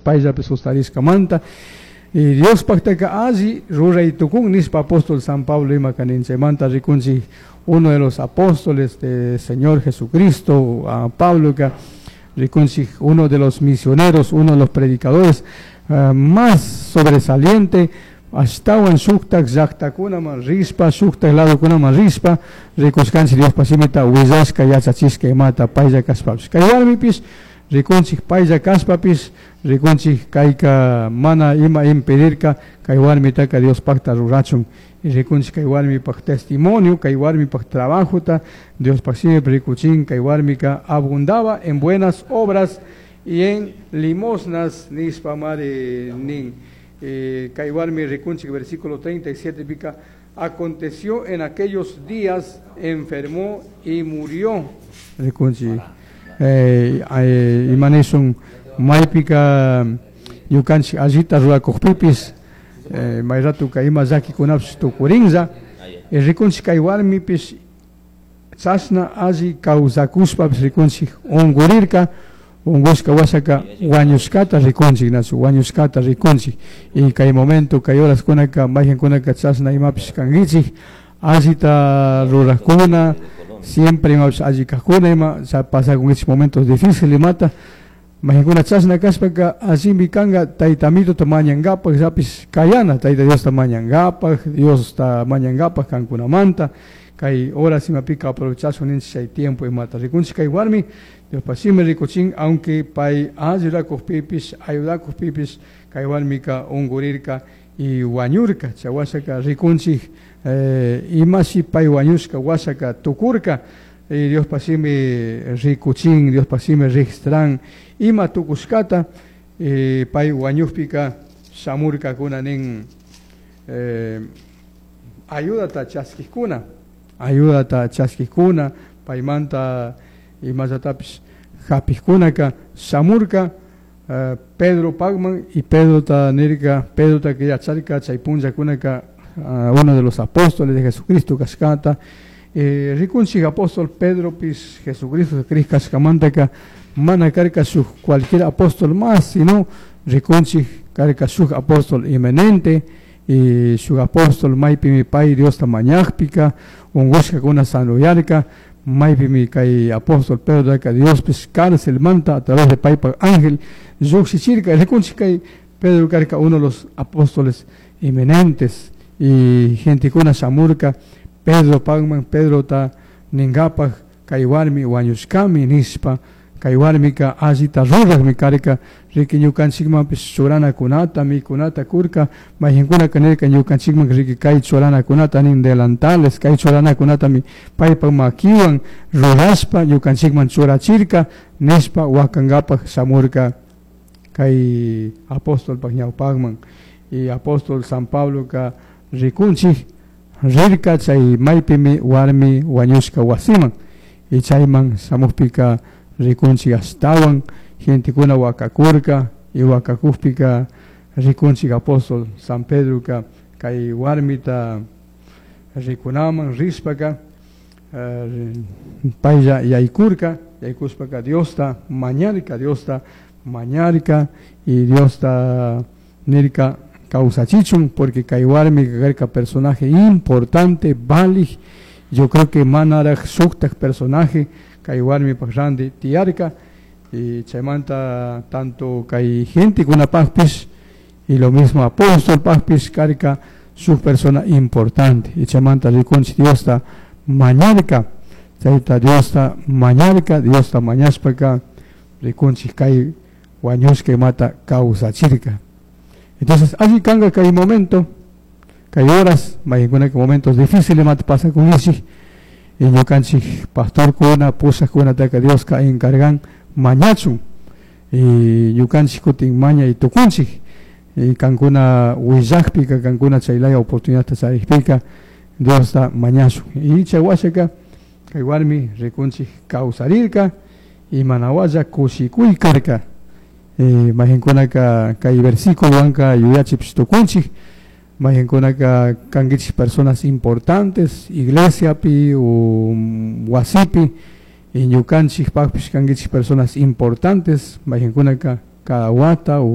Payllapi sustarishkamanta. Y Diospajtaka alli ruray tukun nishpa apóstol San Pablo ima kanin. Chaymanta rikunchik uno de los apóstoles de Señor Jesucristo, a Pablo, rikunchik uno de los misioneros, uno de los predicadores más sobresaliente, ashtawan shuktak llaktakunaman rishpa, shuktak ladokunaman rishpa, rikushkanchik Diospa shimita willashka, yachachishka imata paylla kashpapish. Kay warmipish rikunchik paylla kashpapish, rikunchik kayka mana ima impedirka kay warmitaka Diospakta rurachun. Y rikunchik kay warmipaj testimonio, kay warmipaj trabajota, Diospaj shimipi rikuchin kay warmika abundaba en buenas obras y en limosnas nishpa mari nin. Kay warmi rikunchik versículo 37 pika, aconteció en aquellos días, enfermó y murió. Rikunchik. Imanishun maypika ñukanchik allita rurakukpipis, may ratuka ima llakikunapish tukurinlla. Rikunchik kay warmipish chashna alli kawsakushpapish rikunchik ungurirka, ungushka washaka wañushkata rikunchik, nachu wañushkata rikunchik. Y kay momento, kay horaskunaka mayqankunaka chashna imapish kankichik, allita rurakuna, siempre imapish alli kajkuna, ima pasakunkichik momentos difíciles imata, mayqankuna chashna kashpaka allimi kanka Tayta Amitota mañankapak, llapish kayana Tayta Diosta mañankapak, Diosta mañankapak kankunamanta, kay horas imapika aprovechashun ninchik chay tiempo imata. Rikunchik kay warmi, Diospa shimi rikuchin, aunque pay alli rurakukpipish, ayudakukpipish, kay warmika ungurirka y wañurka. Chay washaka rikunchik, imashi pay wañushka washaka tukurka, y Diospa shimi rikuchin, Diospa shimi registran ima tukushkata, pay wañukpika shamurkakuna nin, ayudata chaskikuna, ayudata chaskikuna, paymanta imallatapish hapikkunaka shamurka, Pedro pagman y Pedro ta nirka, Pedro ta que yacharka chay punllakunaka, uno de los apóstoles de Jesucristo kashkata. Rikunchik apóstol Pedro pis Jesucristo kashkamantaka mana karka shuk cualquier apóstol más, sino rikunchik karka shuk apóstol inminente y shuk apóstol maypimi pay Diosta mañakpika ungushkakuna sanuyarka, maypimi kay apóstol Pedro ka Dios pis cárcel manta a través de paypa ángel llukshichirka. Rikunchik kay Pedro karka uno de los apóstoles inminentes y gentekuna shamurka Pedro pagman, Pedro ta ningapaj kay warmi wañushkami nishpa, kay warmika allita rurakmi karka, riki ñukanchikmanpish churanakunata mikunata kurka, mayqinkunaka nirka ñukanchikman riki kay churanakunata nin delantales, kay churanakunatami paypak makiwan rurashpa ñukanchikman churachirka nishpa wakankapaj shamurka kay apóstolpak ñawpakman. Y apóstol San Pabloka rikunchik rirka chay maypimi warmi wañushka wasiman, y chayman shamukpika rikunchik ashtawan gentekuna wakakurka, y wakakukpika rikunchik apóstol San Pedroka kay warmita rikunaman rishpaka, paylla yaykurka, yaykushpaka Diosta mañarka, Diosta mañarka y Diosta nirka kawsachichun, porque kay warmi karka personaje importante, valij, yo creo que manaraj shuktak personaje kay warmipaj ranti tiyarka, y chaymanta tanto kay gentekunapajpish y lo mismo apóstol pajpish karka shuk persona importante, y chaymanta rikunchik Diosta mañarka, chayta Diosta mañarka, Diosta mañashpaka rikunchik kay wañushka imata kawsachirka. Entonces, allí kanga kay momento, kay horas, mayqinkunaka momentos difíciles imata pasakunchik, y ñukanchik pastorkuna, pushakkunataka Dioska encargan mañachun, y ñukanchik kutin mañay tukunchik, y kankuna willakpika, kankuna chaylaya oportunidadta charikpika, Diosta mañashun. Y chay washaka, kay warmi rikunchik kawsarirka, y manawalla kushikuy karka. Mayqinkunaka kay versículowanka yuyachipish tukunchik, mayqinkunaka kankichik personas importantes iglesiapi o wasipi, y ñukanchikpakpish kankichik personas importantes, mayqinkunaka cada wata o